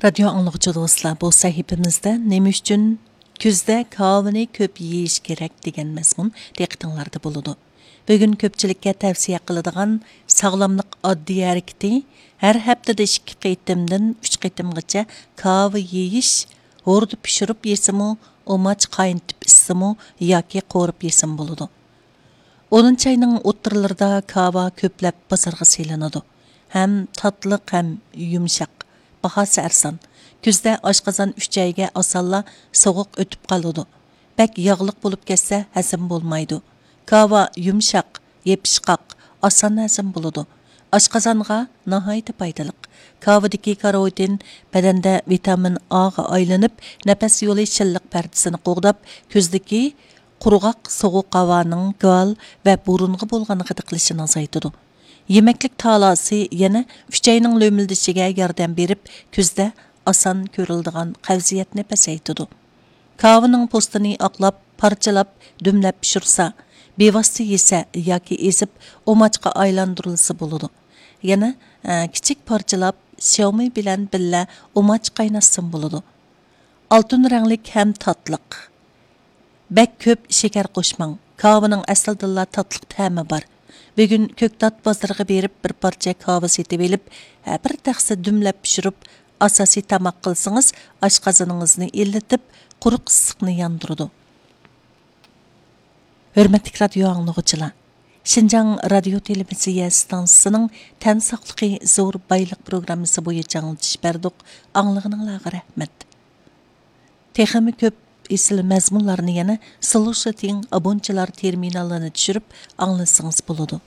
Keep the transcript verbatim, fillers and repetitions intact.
رادىيو ئاڭلىغۇچى دوستلار، بۇ سەھىپىمىزدە نېمە ئۈچۈن كۈزدە كاۋىنى كۆپ يېيىش كېرەك دېگەن مەزمۇن دىققىتىڭلاردا بولىدۇ. بۈگۈن كۆپچىلىككە تەۋسىيە قىلىدىغان ساغلاملىق ئاددىي ھەرىكىتى، ھەر ھەپتىدە ئىككى قېتىمدىن ئۈچ قېتىمغىچە كاۋا يېيىش، ھوردا پىشۇرۇپ يېسىمۇ، ئۇماچ قاينىتىپ ئىچسىمۇ ياكى قورۇپ يېسىمۇ بولىدۇ. ئونىنچى ئاينىڭ ئوتتۇرىلىرىدا كاۋا كۆپلەپ بازارغا سېلىنىدۇ. ھەم تاتلىق، ھەم يۇمشاق، باھاسى ئەرزان. كۈزدە ئاشقازان ئۈچەيگە ئاسانلا سوغۇق ئۆتۈپ قالىدۇ. بەك ياغلىق بولۇپ كەتسە ھەزىم بولمايدۇ. كاۋا يۇمشاق، يېپىشقاق، ئاسان ھەزىم بولىدۇ. ئاشقازانغا ناھايىتى پايدىلىق. كاۋىدىكى كاروتىن بەدەندە ۋىتامىن ئاغا ئايلىنىپ، نەپەس يولى شىللىق پەردىسىنى قوغداپ، كۈزدىكى قۇرغاق سوغۇق ھاۋانىڭ گال ۋە بۇرۇنغا بولغان غىدىقلىشىنى ئازايتىدۇ. يېمەكلىك تالاسى يەنە ئۈچەينىڭ لۆمۈلدىشىگە ياردەم بېرىپ، كۈزدە ئاسان كۆرۈلىدىغان قەۋزىيەتنى پەسەيتىدۇ. كاۋىنىڭ پوستىنى ئاقلاپ، پارچىلاپ، دۈملەپ پىشۇرسا، بىۋاسىتە يېسە ياكى ئېزىپ، ئۇماچقا ئايلاندۇرۇلسا بولىدۇ. يەنە، ئە، كىچىك پارچىلاپ، شياۋمېي بىلەن بىللە ئۇماچ قايناتسىمۇ بولىدۇ. ئالتۇن رەڭلىك ھەم تاتلىق. بەك كۆپ شېكەر قوشماڭ. كاۋىنىڭ ئەسلىدىنلا تاتلىق تەمى بار. بۈگۈن كۆكتات بازىرىغا بېرىپ، بىر پارچە كاۋا سېتىۋېلىپ، ھە، بىر تەخسە دۈملەپ پىشۇرۇپ، ئاساسىي تاماق قىلسىڭىز، ئاشقازىنىڭىزنى ئىللىتىپ، قۇرۇق ئىسسىقنى ياندۇرىدۇ. ھۆرمەتلىك رادىيو ئاڭلىغۇچىلار! شىنجاڭ رادىيو تېلېۋىزىيە ئىستانسىسىنىڭ تەن ساقلىقى زور بايلىق پروگراممىسى بويىچە ئاڭلىتىش بەردۇق. ئاڭلىغىنىڭلارغا رەھمەت. تېخىمۇ كۆپ ئېسىل مەزمۇنلارنى يەنە سلوشىتىڭ ئابونچىلار تېرمىنالىنى چۈشۈرۈپ ئاڭلىسىڭىز بولىدۇ.